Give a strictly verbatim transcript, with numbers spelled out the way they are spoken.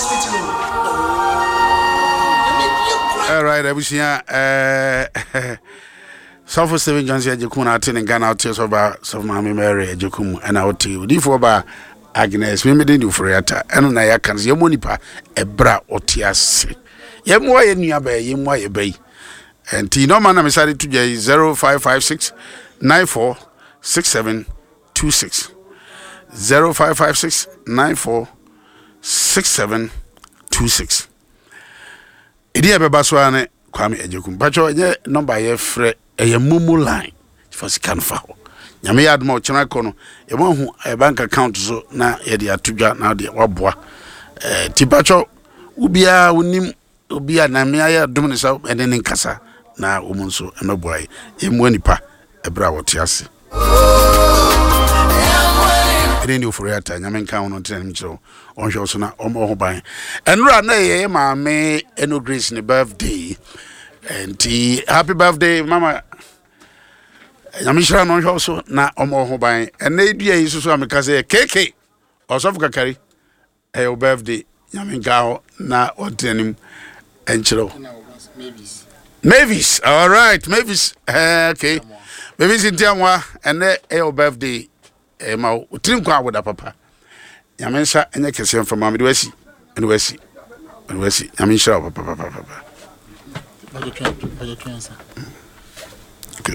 Hospital o. Alright, abusua, ɛɛ Sɔfo Stephen Johnson Agyekum na ate ne nka na wote sɛ ɔba Sɔfo Maame Mary Agyekum, ɛna wote odiyifoɔ ba Agnes Memede ne Ofori-Atta. Ɛno na yɛaka no sɛ yɛmmɔ nipa ɛberɛ a ɔte ase, yɛmmoa yɛ nua bɛyɛ, yɛmmoa yɛ bɛyi. Nti nɔma na mesade to dwa yi: zero five five six nine four six seven two six, zero five five six nine four six seven two six. Ɛdi a ɛbɛba so ara ne Kwame Agyekum. Patwɛ, ɛnyɛ nɔmba yɛfrɛ, ɛyɛ MoMo line. Fa sika no fa hɔ. Nyame yɛ adom a, ɔkyena kɔ no yɛma hu ɛyɛ bank account so na yɛde ato dwa na wode waboa. Eh, nti patwɛ, wobiaa wonim obi a na ayɛ adom ne sɛ ɛne ne nkasa na wɔn nso mmɛboa yɛ. Yɛmmoa nipa ɛberɛ a wɔte ase. Ɛne ne Ofori Ata. Nyame nka wo no ntena nim kyerɛ wo, ɔnhwɛ wo so na ɔmmɔ ho ban. Ɛnora na ɛyɛ yɛ maame Ɛno Grace ne birthday, nti happy birthday, mama. Nyame hyira no, ɔnhwɛ wo so na ɔmmɔ ho ban. Ɛnɛ dua yi soso a meka sɛ keke Ɔsɔfo Kakari, ɛyɛ wo birthday. Nyame nka hɔ na ɔntena nim ɛnkyerɛ wo. Mavis, all right, Mavis, uh, okay, Mavis Ntiamoa, ɛnɛ ɛyɛ wo birthday. Ɛma wo tiri nkwa awoda papa. Nyame nsa ɛnyɛ kɛseɛ mfama mede wasi, mede wasi, mede wasi. Nyame nhyira wo papapapapa. Okay.